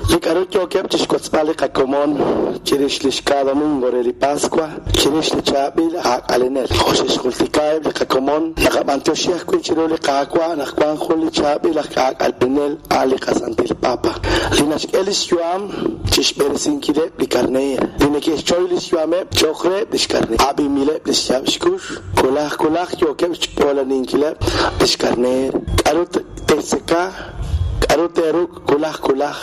Li k'aru yookeb' chi xwotzb'al li qakomon chirix li xka domingo re li Paswa, chirix li chaab'il aak'alenel. Jo' xe'xjultika eb' li qakomon, naqab'anyoxi ajwi' chiru li Qaawa' naq wank jun li chaab'il aj k'aak'alenel a' li qaSantil Papa, li naxk'e li xyu'am chi xb'eresinkileb' li karneer, li neke'xchoy li xyu'ameb' cho'q reheb' li xkarneer. Ab'inb'ileb' li xyaab' xkux, wulaj wulaj yookeb' xch'oolaninkileb' li xkarneer. K'aru te'xtzeka, k'aru te'ruk' wulaj wulaj,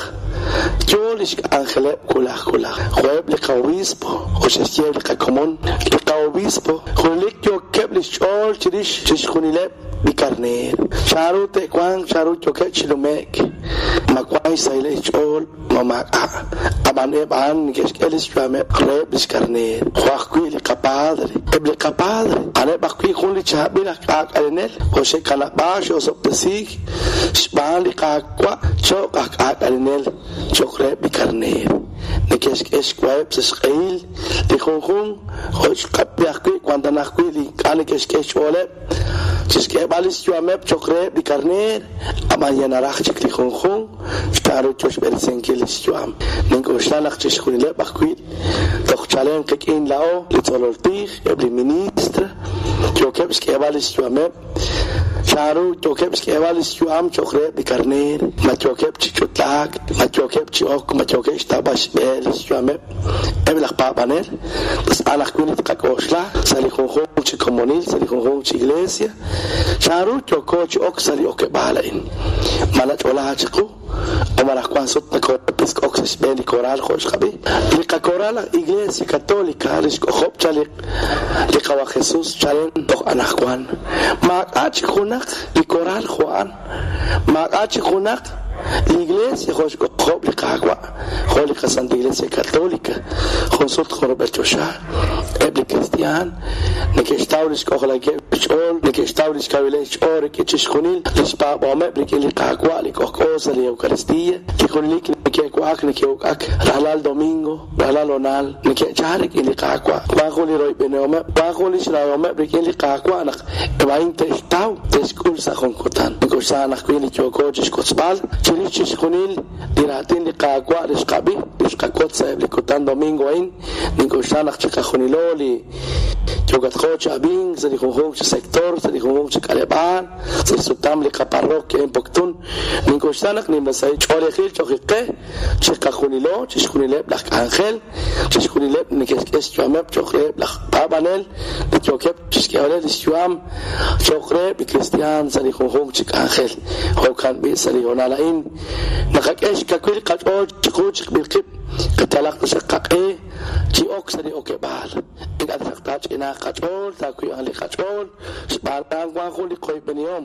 yo li xk'anjeleb' wulaj wulaj. Jo'eb' li qa'obispo, jo' xe'xye eb' li qakomon, li qa'obispo junelik yookeb' li xch'ool chirix chixjunileb' li karneer. Chanru te'wanq, chanru yookeb' chi nume'k, ma wank xsahileb' xch'ool, ma maak'a'. Ab'an eb' a'an neke'xk'e li xyu'ameb' reheb' li xkarneer, jo' ajwi' li qaPadre. Eb' li qaPadre a'aneb' ajwi' jun li chaab'il aj k'aak'alenel, jo' xe'kanab'aak xe'osob'tesiik xb'aan li Qaawa' cho'q aj k'aak'alenel cho'q reheb' li karneer. Neke'xk'e xwaheb' sa' xq'ehil li junjunq, jo' xqab'i ajwi' wank tana ajwi' li ink'a' neke'xk'e xch'ooleb' chi xk'eeb'al li xyu'ameb' cho'q reheb' li karneer, ab'an ya naraj chik li junjunq xtaaru yo xb'eresinkil li xyu'am. Nink'oxla naq chixjunileb' ajwi' toj chalen qik'in laa'o li tzolol tij, eb' li ministr, yookeb' xk'eeb'al li xyu'ameb'. Chanru yookeb' xk'eeb'al li xyu'am cho'q reheb' li karneer? Ma yookeb' chi ch'utlaak? Ma yookeb' chi ok? Ma yookeb' xtawb'al xb'e li xyu'ameb' eb' laj paab'anel? Tz'aqal ajwi' li tqak'oxla sa' li junjunq chi komonil, sa' li junjunq chi iglesia. Chanru yooko chi ok sa' li okeb'aal a'in? Ma nach'olaak chiqu? O malaj wank sut nakoopisk'ok sa' xb'een li koral jo' xqab'i? Li qakoral aj Iglesia Católica li xk'ojob' chaq li Qawa' Jesús chalen toj anaqwan. Maak'a' chik junaq li koral jo' a'an. Maak'a' chik junaq li Iglesia jo' xk'ojob' li Qaawa', jo' li qaSanta Iglesia Católica, jun sut jun rub'el choxa. Eb' li kristi'aan neke'xtaw li xk'ojlankeb' xch'ool, neke'xtaw li xkawileb' xch'ool rik'in chixjunil li xpaab'ahomeb' rik'in li Qaawa' li k'ojk'o sa' li Eucaristía, li junelik neke'wa'ak neke'uk'ak rajlal domingo, rajlal honal, neke'chal rik'in li Qaawa'. Wank jun li royb'enihomeb', wank jun li xrahomeb' rik'in li Qaawa' naq eb' a'in te'xtaw, te'xk'ul sa' jun kutan. Nink'oxla naq wi li yooko chixwotzb'al chirix chixjunil li raatin li Qaawa' li xqab'i, li xqawotz sa'eb' li kutan domingo a'in, Nink'oxla naq chiqajunilo li yookatqo chi ab'ink sa' li junjunq chi sector, sa' li junjunq chi k'aleb'aal, sa' xsutam li qaparroquia en Poptún, nink'oxla naq nimla sahil ch'oolejil cho'q qe chiqajunilo, chixjunileb' laj k'anjel, chixjunileb' li neke'xk'e xyu'ameb' cho'q reheb' laj paab'anel li yookeb' chixk'eeb'aleb' lix yu'am cho'q reheb' li kristiaan sa' li junjunq chi k'anjel. Jo'kan b'i' sa' li hoonal a'in naqak'e xkawil qach'ool chiqu chiqb'il qib'. Qayalaq taxaq qaq'e chi ok sa' li okeb'aal. Ink'a' taxaq taach'inaaq qach'ool, taawiib'anq li qach'ool, xb'aan naq wank jun li qoyb'enihom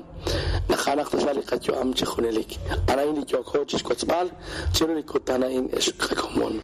naq a'anaq taxaq li qayu'am chi junelik. A'an a'in li yooko chixwotzb'al chiru li kutan a'in, ex qakomon.